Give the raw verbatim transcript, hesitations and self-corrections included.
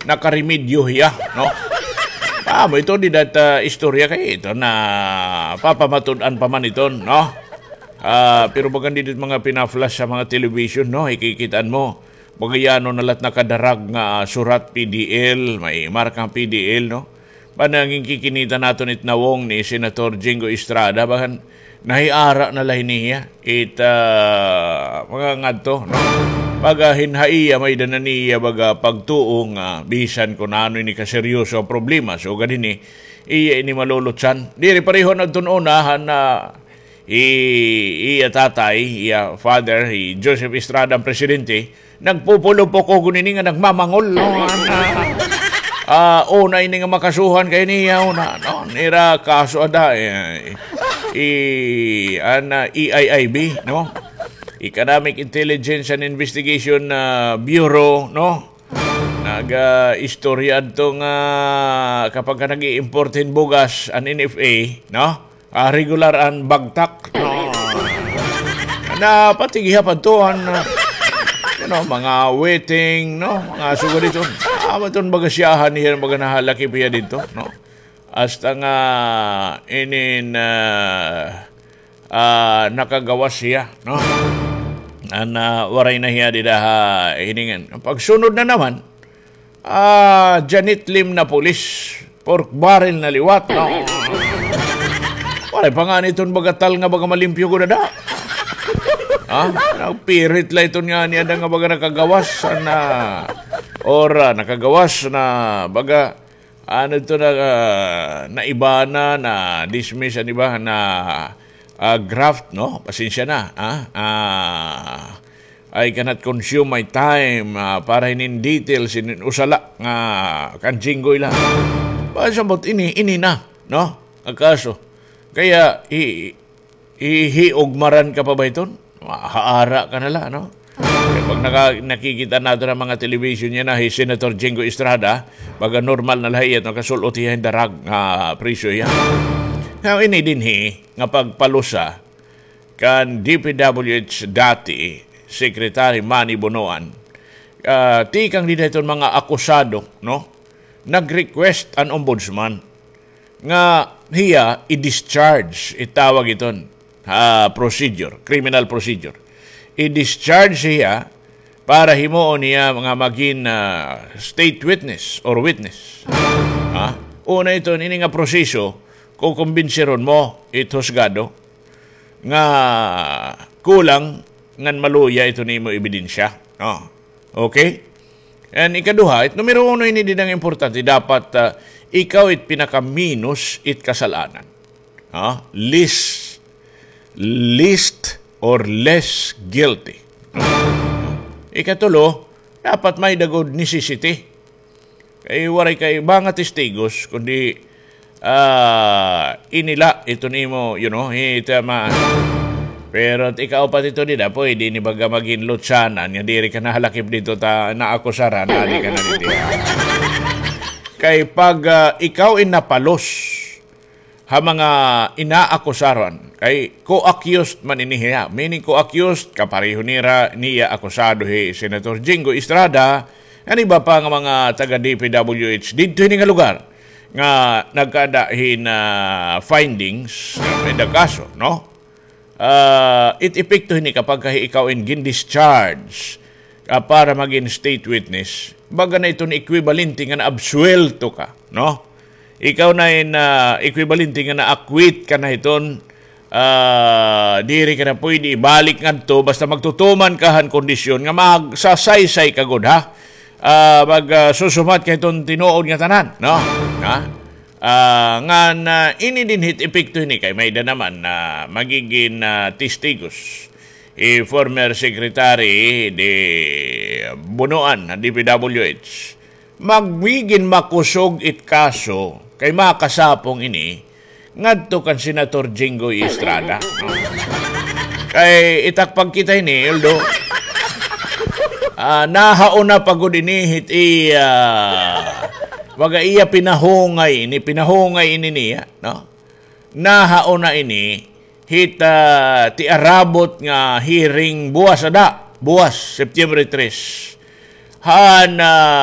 Nakaremedyo hiya, no? Amo ito, dida it, ah, istorya kay ito na papamatud-an pa man ito, no? Ah, pero bagan dida it mga pina-flash ha mga television, no? Ikikit-an mo. Baga yana na la it nakadarag nga, ah, surat P D L, may marka P D L, no? Panangin kikinita naton it nawong ni Senator Jinggoy Estrada, bagan nahiara na la hini hiya. It, ah, mga ngadto, no? Baga hin ha iya, may-ada na niya baga pagtuo nga bisan kon ano ini kaseryoso nga problema. So, gad hini, iya ini malulutsan. Diri pareho na adton una, han, ah, i-, iya tatay, iya father, hi Joseph Estrada an presidente, nagpupulupok ko gunini nga nagmamangol, no? An, ah, ah, una ini nga makasuhan kay niya, una, no? Nira kaso ada, eh, i-, an, ah, E I I B, no? Economic Intelligence and Investigation, ah, Bureau, no? Nag, ah, istorya adto nga kapag ka nag-i-import hin bugas an N F A, no? Ah, regular an bagtak, no? Na pati gihap adto an, ah, you know, mga weteng, no? Mga sugad didto. Ah, maton baga siyahan niya, baga nahalakip hiya didto, no? Hasta nga inin, ah, ah, nakagawas hiya, no? An, ah, waray na hiya dida ha hiningan. Pagsunod na naman, ah, Janet Lim na pulis, pork barrel na liwat, no? Waray pa ngani iton baga tal nga baga malimpyo gud ada. Ha? Nagpirit la iton ngani ada nga baga nakagawas na, or, ah, nakagawas na baga, ano ito na, ah, naibana, na-dismiss, ano ba, na, ah, graft, no? Pasensya na, ah, ah, I cannot consume my time, ah, para hinin details, hinin usa la nga kan Jinggoy la. Pasabot ini, ini na, no? Ang kaso. Kaya, i-, ihiugmaran ka pa ba iton? Mahaara ka na la, no? Kaya pag naka-, nakikita naton an mga television yana, hi Senator Jinggoy Estrada, baga normal na la hiya, no? Kasul-ot hiya hin darag nga presyo hiya. Now, ini dinhi nga pagpalusa kan D P W H dati, Secretary Manny Bonoan, ah, tikang dida hiton mga akusado, no? Nag-request an ombudsman nga hiya i-discharge, itawag iton, ah, procedure, criminal procedure. I-discharge hiya para himuon niya nga magin, ah, state witness or witness. Ha? Una iton, ini nga proseso, kukumbinsiron mo it husgado nga kulang ngan maluya iton imo ebidensya. Oh. Okay? And ikaduha, it numero uno ini dinhi nga importante, dapat, ah, ikaw it pinakaminos it kasal-anan. Ha? Least, least or less guilty. Ikatulo, dapat may-ada gud necessity. Kay waray kay mga testigos, kundi, ah, ini la, iton imo, you know, ita ma-, pero it ikaupat ito dida, pwede ini baga magin lutsanan, nga diri ka nahalakip didto ta naakusaran, adi ka na didi. Kay pag, ah, ikaw in napalos, ha mga inaakusaran. Kay co-accused man ini hiya. Meaning co-accused, kapareho nira, niya akusado hi Senator Jinggoy Estrada, ngan iba pa nga mga taga D P W H didto hini nga lugar nga nagkada hin, ah, findings, may da kaso, no? Ah, it epekto hini kapag ka ikaw in gin-discharge, ah, para magin state witness, baga na iton equivalente nga naabsuwelto ka, no? Ikaw na in, ah, equivalente nga na-acquit ka na hiton, ah, diri ka na pwede ibalik ngadto, basta magtutuman ka han kondisyon nga magsasaysay ka gud, ha? Ah, mag, ah, susumat ka hiton tinuod nga tanan, no? Ha? Ah, ngan, ah, ini dinhi it epekto hini kay may-ada naman na magigin, ah, testigos. I former secretary di Bonoan, D P W H. Magigin makusog it kaso kay makasapong ini ngadto kan Senator Jinggoy Estrada. Kay itakpag kita ini, although, ah, nahauna pa gud ini hit iya, baga iya pinahungay ini, pinahungay ini niya, no? Nahauna ini hit, ah, tiarabot nga hearing buwas ada, buwas, September tres. Han, ah,